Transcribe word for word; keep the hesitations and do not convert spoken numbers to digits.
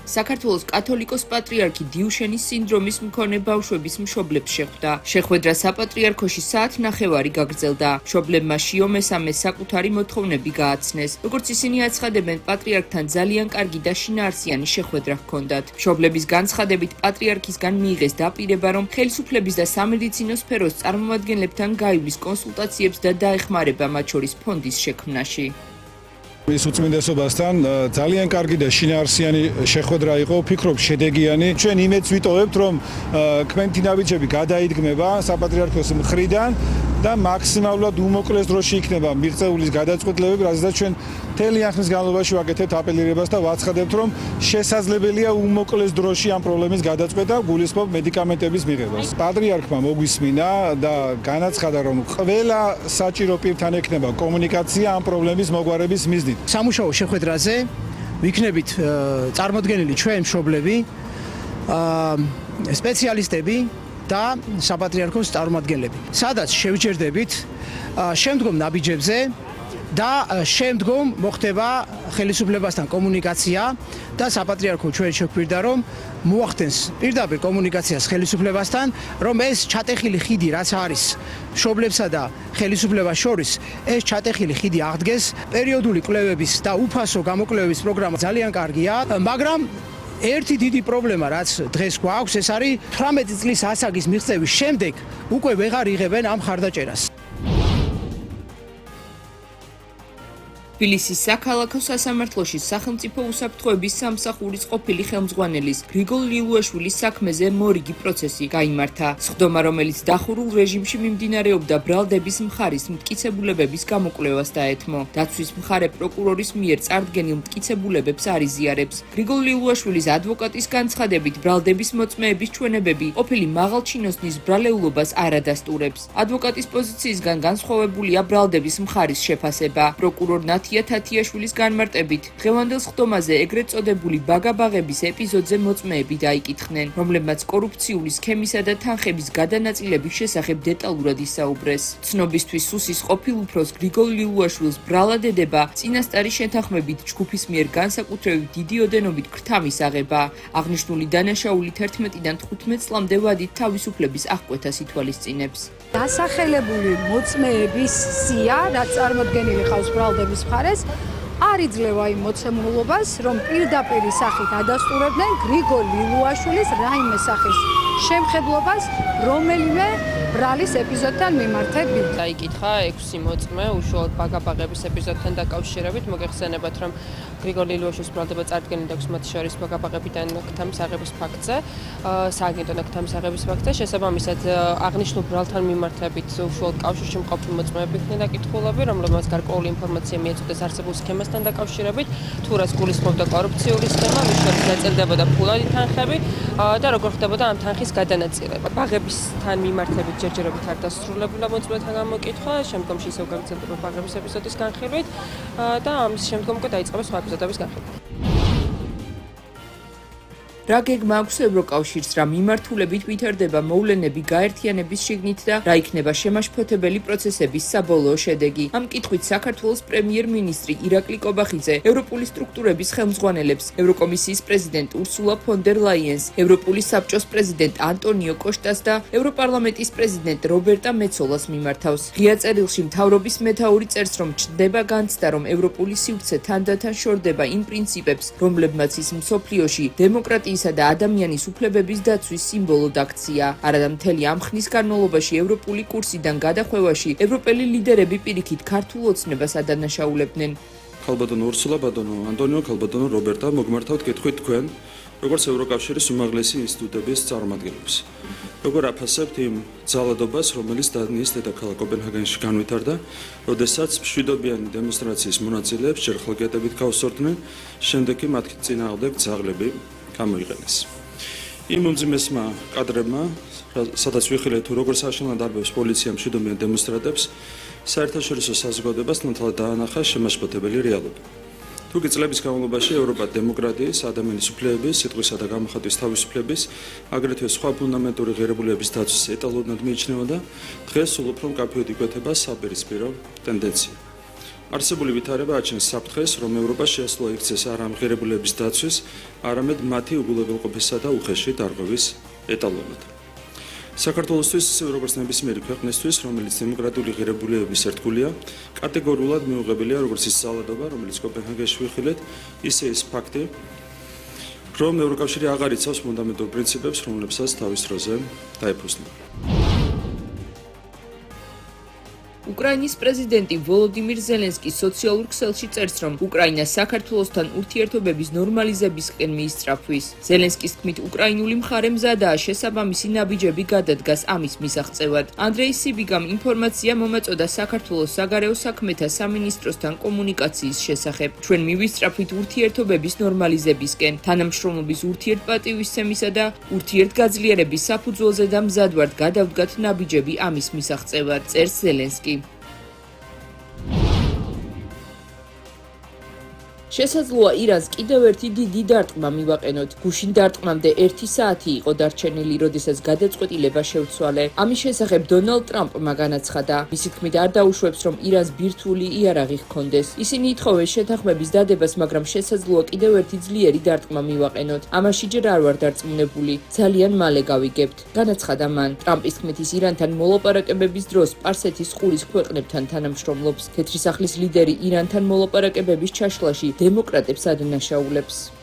საქართველოს კათოლიკოს პატრიარქი დიუშენის სინდრომის მქონე ბავშვების მშობლებს შეხვდა. შეხვედრა საპატრიარქოში საათნახევარი გაგრძელდა. მშობლებმა შიო მესამეს საკუთარი მოთხოვნები გააცნეს. როგორც ისინი აცხადებენ, პატრიარქთან ძალიან კარგი და შინაარსიანი შეხვედრა ჰქონდათ. მშობლების განცხადებით, პატრიარქისგან მიიღეს დაპირება, რომ ხელისუფლების და სამედიცინო სფეროს წარმომადგენლებთან გაივლის კონსულტაციებს და დაეხმარება მათ შორის ფონდის შექმნაში. ის უწმინდესობასთან ძალიან კარგი და შინაარსიანი შეხვედრა იყო, ვფიქრობ შედეგიანი. ჩვენ იმედს ვიტოვებთ, რომ კმენთინავიჩები გადაიდგმება საპატრიარქოს მხრიდან და მაქსიმალურად უმოკლეს დროში იქნება მიღწეულის გადაწყვეტილებები, რადგან ჩვენ მთელი ახლის განმავლობაში ვაკეთებთ აპელირებას და ვაცხადებთ, რომ შესაძლებელია უმოკლეს დროში ამ პრობლემის გადაწყვეტა, გულისხმობ მედიკამენტების მიღებას. პატრიარქმა მოგვისმინა და განაცხადა, რომ ყველა საჭირო პირთან ექნება კომუნიკაცია ამ პრობლემის მოგვარების მიზნით. სამუშაო შეხვედრაზე ვიქნებით წარმოდგენილი ჩვენ მშობლები, სპეციალისტები და საპატრიარქოს წარმომადგენლები. სადაც შევჯერდებით შემდგომ ნაბიჯებზე და შემდგომ მოხდება ხელისუფლებასთან კომუნიკაცია და საპატრიარქო ჩვენ შეგვირდა, რომ მოახდენს პირდაპირ კომუნიკაციას ხელისუფლებასთან, რომ ეს ჩატეხილი ხიდი რაც არის მშობლებსა და ხელისუფლებას შორის, ეს ჩატეხილი ხიდი აღდგეს. პერიოდული კვლევების და უფასო გამოკვლევების პროგრამა ძალიან კარგია, მაგრამ ერთი დიდი პრობლემა რაც დღეს გვაქვს, ეს არის თვრამეტი წლის ასაგის მიღწევის შემდეგ უკვე ვეღარ იღებენ ამ ხარდაჭერას. თბილისის საქალაქო სასამართლოში სახელმწიფო უსაფრთხოების სამსახურის ყოფილი ხელმძღვანელის გრიგოლ ლილუაშვილის საქმეზე მორიგი პროცესი გაიმართა. სხდომა, რომელიც დახურულ რეჟიმში მიმდინარეობდა, ბრალდების მხარის მტკიცებულებების გამოკვლევას დაეთმო. დაცვის მხარე პროკურორის მიერ წარდგენილ მტკიცებულებებს არ იზიარებს. გრიგოლ ლილუაშვილის ადვოკატის განცხადებით, ბრალდების მოწმეების ჩვენებები ყოფილი მაღალჩინოსნის ბრალეულობას არ ადასტურებს. ადვოკატის პოზიციისგან განსხვავებულია ბრალდების მხარის შეფასება. პროკურორ ნათია თათიაშვილის განმარტებით, დღევანდელ სხდომაზე ეგრეთ წოდებული ბაგაბაღების ეპიზოდზე მოწმეები დაიკითხნენ, რომლებმაც კორუფციული სქემისა და თანხების გადანაწილების შესახებ დეტალურად ისაუბრეს. ცნობისთვის სუსის ყოფილ უფროს გრიგოლ ლილუაშვილს ბრალად ედება წინასწარი შეთანხმებით ჯგუფის მიერ განსაკუთრებით დიდი ოდენობით ქრთამის აღება. აღნიშნული დანაშაული თერთმეტიდან თხუთმეტ წლამდე ვადით თავისუფლების აღკვეთას ითვალისწინებს. დასახელებული მოწმეების სია, რაც წარმოდგენილი ყავს ბრალდების მხარეს, არ იძლევა იმ მოცემულობას, რომ პირდაპირ სახით ადასტურებდნენ გრიგოლ ლილუაშვილის რაიმე სახის შემხედლობას რომელიმე ბრალის ეპიზოდთან მიმართებით. დაიკითხა ექვსი მოწმე უშუალოდ ბაგაბაღების ეპიზოდთან დაკავშირებით. მოგეხსენებათ, რომ გრიგოლ ლილუაშვილის ბრალდება წარდგენილი აქვს მათ შორის ბაგაბაღებიდან ქთამის აღების ფაქტზე, სააგენტო ქთამის აღების ფაქტზე. შესაბამისად, აღნიშნულ ბრალთან მიმართებით უშუალოდ კავშირში მყოფი მოწმეები იქნა დაკითხულები, რომლებმაც გარკვეული ინფორმაცია მიეწოდეს არსებულ სქემასთან დაკავშირებით, თუ რას გულისხმობდა კორუფციული სქემა, მის შორის დაწერდებოდა ფულადი თანხები და როგორ ხდებოდა ამ თანხის გადანაწილება. ბაღებისთან მიმართებით ჯერჯერობით არ დასრულებულა მოწმეთა გამოკითხვა, შემდგომში ისევ გაგრძელდება ბაღების ეპიზოდის განხილვით და ამის შემდგომ უკვე დაიწყება სხვა ეპიზოდების განხილვა. რა გეგმა აქვს ევროკავშირს, რა მიმართულებით ვითარდება მოვლენები გაერთიანების შიგნით და რა იქნება შემაშფოთებელი პროცესების საბოლოო შედეგი. ამ კითხვით საქართველოს პრემიერ-მინისტრი ირაკლი კობახიძე ევროპული სტრუქტურების ხელმძღვანელებს, ევროკომისიის პრეზიდენტ ურსულა ფონ დერ ლაიენს, ევროპული საბჭოს პრეზიდენტ ანტონიო კოშტას და ევროპარლამენტის პრეზიდენტ რობერტა მეცოლას მიმართავს. ღია წერილში მთავრობის მეთაური წერს, რომ ჩნდება განცდა, რომ ევროპული სივრცე თანდათან შორდება იმ პრინციპებს, რომლებმაც ის მსოფლიოში დემოკრატიის და ადამიანის უფლებების დაცვის სიმბოლოდ აქცია. არადა მთელი ამ ხნის განმავლობაში ევროპული კურსიდან გადახვევაში ევროპელი ლიდერები პირიქით ქართულ ოცნებას ადანაშაულებდნენ. ქალბატონო ურსულა, ბატონო ანტონიო, ქალბატონო რობერტა, მოგმართავთ კითხვით თქვენ, როგორც ევროკავშირის უმაღლესი ინსტიტუტების წარმომადგენლებს. როგორ აფასებთ იმ ძალადობას, რომელიც დანიის დედაქალაქ კოპენჰაგენში განვითარდა, როდესაც მშვიდობიანი დემონსტრაციის მონაწილეებს ჯერ ხალხგეტებით გავსორდნენ, შემდეგ კი მათ წინააღმდეგ ძაღლები გამოიყენეს. იმ უმძიმესმა კადრებმა, სადაც ვიხილეთ თუ როგორ საშინლად დარბევს პოლიცია მშვიდობიან დემონსტრანტებს, საერთაშორისო საზოგადოებას ნათლად დაანახა შემაშფოთებელი რეალობა. თუკი წლების განმავლობაში ევროპა დემოკრატიის, ადამიანის უფლებების, სიტყვისა და გამოხატვის თავისუფლების, აგრეთვე სხვა ფუნდამენტური ღირებულებების დაცვის ეტალონად მიიჩნეოდა, დღეს სულ უფრო მკაფიოდ იკვეთება საპირისპირო ტენდენცია. არსებული ვითარება აჩენს საფრთხეს, რომ ევროპა შეასრულა იქცეს არა ამღერებულების დაცვის, არამედ მათი უგულებელყოფისა და უხეში დარღვევის ეტალონად. საქართველოსთვის, ისევე როგორც ნებისმიერი ქვეყნისთვის, რომელიც დემოკრატიული ღირებულებების ერთგულია, კატეგორიულად მიუღებელია როგორც ის ძალადობა, რომელიც კოპენჰაგენში ვიხილეთ, ისე ის ფაქტი, რომ ევროკავშირი აღარ იცავს ფუნდამენტურ პრინციპებს, რომლებსაც თავის დროზე დაეფუძნება. უკრაინის პრეზიდენტი ვოლოდიმირ ზელენსკი სოციალურ ქსელში წერს, რომ უკრაინა საქართველოსთან ურთიერთობების ნორმალიზებისკენ მიისწრაფვის. ზელენსკის თქმით, უკრაინული მხარე მზადაა შესაბამისი ნაბიჯები გადადგას ამის მისაღწევად. ანდრეი სიბიგამ ინფორმაცია მომაწოდა საქართველოს საგარეო საქმეთა სამინისტროსთან კომუნიკაციის შესახებ. ჩვენ მივისწრაფვით ურთიერთობების ნორმალიზებისკენ, თანამშრომლობის ურთიერთპატივისცემისა და ურთიერთგაძლიერების საფუძველზე და მზად ვართ გადავდგათ ნაბიჯები ამის მისაღწევად, წერს ზელენსკი. შესაძლოა ირანს კიდევ ერთი დიდი დარტყმა მივაყენოთ. გუშინ დარტყმამდე ერთი საათი იყო დარჩენილი, როდესაც გადაწყვეტილება შევცვალე. ამის შესახებ დონალდ ტრამპმა განაცხადა. მისი თქმით, არ დაუშვებს, რომ ირანს ბირთვული იარაღი ჰქონდეს. ისინი ითხოვენ შეთანხმების დადებას, მაგრამ შესაძლოა კიდევ ერთი ძლიერი დარტყმა მივაყენოთ. ამაში ჯერ არ ვარ დარწმუნებული. ძალიან მალე გავიგებთ. განაცხადა მან. ტრამპის თქმით, ის ირანთან მოლაპარაკებების დროს სპარსეთის ყურის ქვეყნებთან თანამშრომლობს. თეთრი სახლის ლიდერი ირანთან მოლაპარაკებების ჩაშლაში დემოკრატებს ადანაშაულებს.